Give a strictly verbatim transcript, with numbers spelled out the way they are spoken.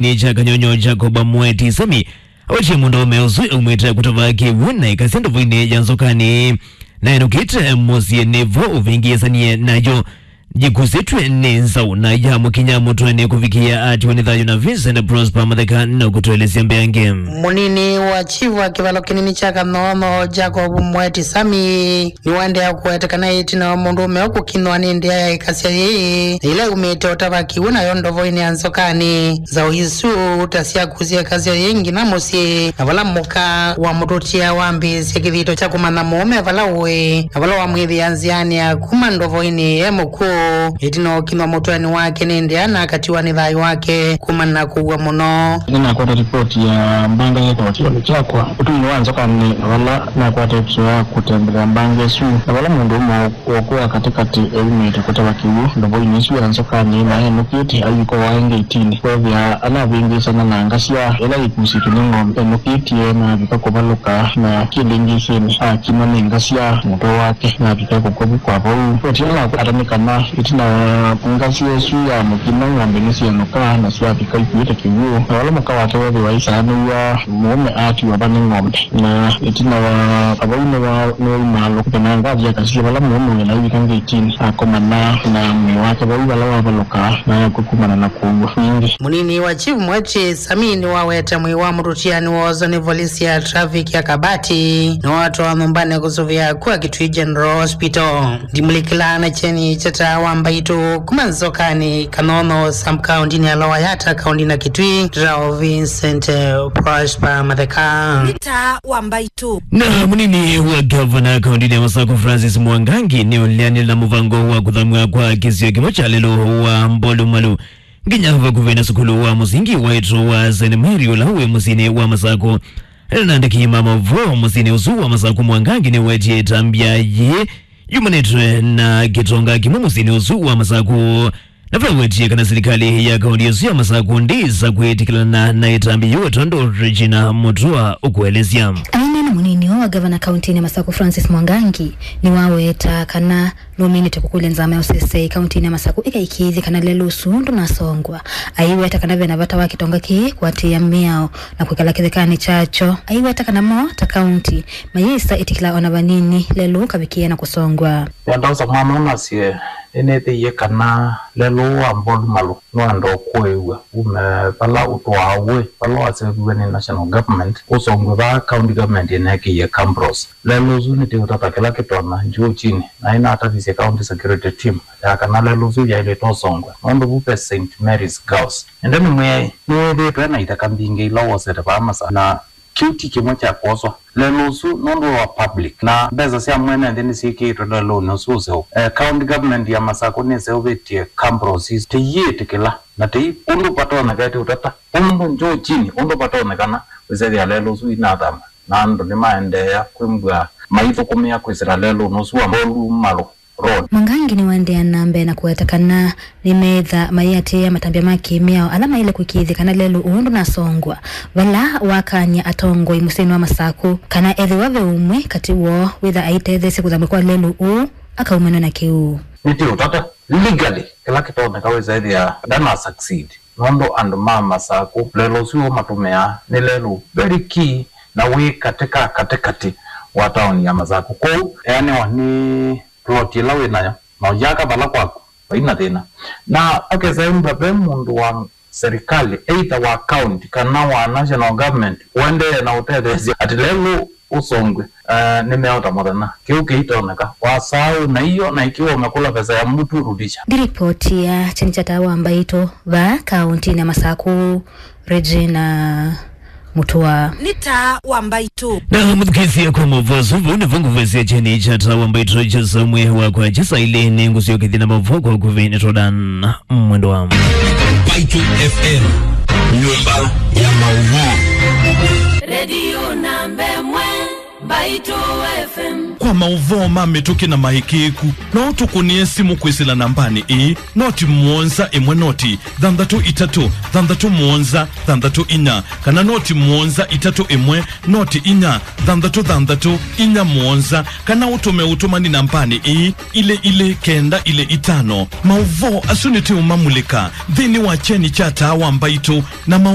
nĩ kya Kanyonyo Jacob Mweti Sami, awetie mũndũũme ũsu aumĩte kũtava kĩw'ũ na ĩkasya ndovoinĩ ya Nzokanĩ. Na enũkĩte mũsyĩ nĩvo ũvĩngĩĩsanie nayo yĩkusĩtw'e nĩ nzaũ na yamũkinya mũtwenĩ kũvikĩa atiwa nĩ thayũ. Na Vincent Prosper Matheka na kũtũelesya mbeange. Mũnini wa chief wa kĩvalo kĩnini kya Kanyonyo Jacob Mweti Sami nĩwaendeea kũweta kana ĩtina wa mũndũũme ũkũkinwa nĩ ndĩa ya ĩkasya yĩĩ, ĩla yumĩte ũtava kĩw'ũ nayo ndovoinĩ ya Nzokanĩ. Nzaũ isu ta syakusya ĩkasya yĩĩ nginya mũsyĩ, na vala mũka wa mũtũtia wambĩĩsya kĩthito kya kũmanya mũũme vala ũĩ, na vala wamwĩthĩa nzĩanĩ ya kuma ndovoinĩ e mũkw'ũ, ĩtina ũkinwa mũtwenĩ wake nĩ ndĩa na akatiwa nĩ thayũ wake kumana na kũua mũno. Nĩnakwata ripoti ya mbanga yĩkawa kĩvalo kyakwa ũtũinĩ wa Nzokanĩ, na vala nakwata ĩkĩo ya kũtembelea mbanga ĩsu, na vala mũndũũme wa ũkũa katĩkatĩ eumĩte kũtava kĩw'ũ ndovoinĩ ĩsu ya Nzokanĩ, na enũkĩte ayĩkoa aĩ ngeitinĩ, kwethĩa ala avĩngĩĩsana na ngasya ĩla yĩkusĩtw'e nĩ ng'ombe. Enũkĩtye na avika kũvalũka, na kĩlĩngĩsĩnĩ akinwa nĩ ngasya mũtwe wake, na avika kũkw'a vu kwa vau. Ripoti ĩla nakwata nĩ kana ĩtina wa ngasya ĩsu ya mũkina, ng'ombe nĩsyenũka na syavika ikuĩte kĩw'ũ, na vala mũka wake wethĩwa aisaanĩw'a, mũũme atiwa va nĩ ng'ombe. Na ĩtina wa vau nĩwa nĩwaumaa lũkũte na ngathi akasisya vala mũũme wĩ na wika ngeitinĩ, akomana na mwĩĩ wake vau vala wavalũka na akw'a kumana na kũua. Ningĩ mũnini wa chief Mweti Sami nĩwawete mwĩĩ wa mũtũtiani woozwa nĩ volisi ya traffic ya Kabati, nĩwatwawa nyũmbanĩ kũsũvĩa kwa Kitui General Hospital. Ndimũlikĩlaa na kyeni kya taa wa mbaitũ kuma Nzokanĩ, Kanono, sub-county-nĩ ya Lower Yatta, kaunti na Kitui, Rao Vincent, eh, Prosper Matheka. Nĩ taa wa mbaitũ. Na mũnini wa gavana kaunti-nĩ ya Masakũ Francis Mwangangi nĩũleanĩla mũvango wa kũthamw'a kwa kĩsio kĩmwe kya lelũ wa Mbolumalu nginya vakuvĩ na sukulu wa mũsingi wa ĩtũ wa Saint Mary ũla wĩ mũsyĩnĩ wa Masakũ. Ena andĩki ma maũvoo mũsyĩnĩ ũsu wa Masakũ, Mwangangi nĩwetie ĩtambya yĩĩ yumanĩtwe na kĩtonga kĩmwe mũsyĩnĩ ũsu wa Masakũ. Na vala wetie kana silikalĩ ya kaunti ĩsu ya Masakũ ndĩsa kwĩtĩkĩlana na ĩtambya yĩu, tondũ Regina Mutua ũkũelesya. Aineena mũnini ũũ wa gavana kaunti-inĩ ya Masakũ Francis Mwangangi nĩwaweta kana nũminĩte kũkũlya nzama ya ũseseĩ kaunti-inĩ ya Masakũ ĩkaĩkĩĩthye kana lelũ ũsu ndũnasongwa. Aiweta kana vena vata wa kĩtonga kĩĩ kũatĩĩa mĩao na kwĩkala kĩthekanĩ kyakyo. Aiweta kana mo ta kaunti mayĩsa ĩtĩkĩla ona vanini lelũ kavikĩe na kũsongwa. Nĩenda ũsa mwana ũnasye nĩnĩthĩie kana lelũ wa Mbolumalu nũenda ũkũĩw'a ume vala ũtũaa ũĩ, vala waseũviw'e nĩ national government, ũsongwe vaa county government ĩneekĩie Camp Rose. Lelũ ũsu nĩtĩũtata kĩla kĩtonya Njũũkyinĩ, na ĩnatavisye county security team ya kana lelũ ũsu yaĩlĩte ũsongwe, nũndũ vu ve Saint Mary's Girls. Ĩndĩ nĩmwĩai, nĩwĩthĩĩtwe na ithaka mbingĩ ila wosete vaa Masakũ, na kĩu ti kĩmwe kya kwoswa. Lelũ ũsu nũndũ wa public, na mbesa sya mwene nthĩ nĩsyĩkĩĩtwe lelũnĩ ũsu ũseũvũ. Eh, county government ya Masakũ nĩseũvĩtye Camp Rose. Tĩiĩtĩkĩla, na tĩi ũndũ vatonyeka, ĩtĩ ũtata ũndũ Njũũkyinĩ, ũndũ vatonyekana wĩsethĩa lelũ ũsu inathama, na andũ nĩmaendeea kwĩmbw'a maithũkũmĩa kwĩsĩla lelũnĩ ũsu wa Mbolumalu Road. Mwangangi nĩwaendeea na mbee na kũweta kana nĩmeĩtha mayĩatĩĩa matambya ma kĩ-mĩao ala maĩle kũĩkĩĩthya kana lelũ ũũ ndũnasongwa, vala wakany'a atongoi mũsyĩnĩ wa Masakũ kana ethĩwa ve ũmwe katĩ woo wĩtha aitetheesya kũthamw'a kwa lelũ ũũ, akaumanw'a na kĩu. Nĩtĩ ũtata legally, kĩla kĩtonyeka wĩsa ĩthĩa ndana succeed, nũndũ andũ ma Masakũ lelũ ũsu ũmatũmĩaa nĩ lelũ very key na wĩ katĩ ka katĩkatĩ wa taoni ya Masakũ. Kwoou eanĩwa nĩ plot ĩla wĩ nayo na ũyaka vala kwaku, vai na thĩna. Na akesa ĩmbwa ve mũndũ wa serikali, either wa county kana wa national government, ũendee na ũtetheesya atĩ lelũ ũsongwe, eh, nĩmeota mũthenya. Kĩu kĩitonyeka. Wasaa wĩ na iyo, na ikiwa umekula pesa ya mtu, rudisha. Ndilipoti ya kyeni kya taa wa mbaitũ vaa kaunti-inĩ ya Masakũ, Regina Mutua. Nĩ taa wa mbaitũ. Na mũthukĩĩsya kwa maũvoo asu, vau nĩvo ngũvesya kyeni kya taa wa mbaitũ kya saa ĩmwe wakwa kya saa ilĩ. Nĩngũsyokethya na maũvoo kwa ũkuvĩ nĩ Jordan Mwendwa. Mbaitũ F M, nyũmba ya maũvoo. Redio namba ĩmwe. Mbaitũ F M. Kwa maũvoo ma mĩtũkĩ na maĩkĩĩku, no ũtũkũnĩe simũ kwĩsĩla nambanĩ ĩĩ, noti mũonza ĩmwe noti thanthatũ itatũ thanthatũ mũonza thanthatũ inya, kana noti mũonza itatũ ĩmwe noti inya thanthatũ thanthatũ inya mũonza, kana ũtũme ũtũmani nambanĩ ĩĩ, ilĩ ilĩ kenda ilĩ itano. Maũvoo asu nĩtũũmamulĩka nthĩnĩ wa kyeni kya Taa wa Mbaitũ na maũ-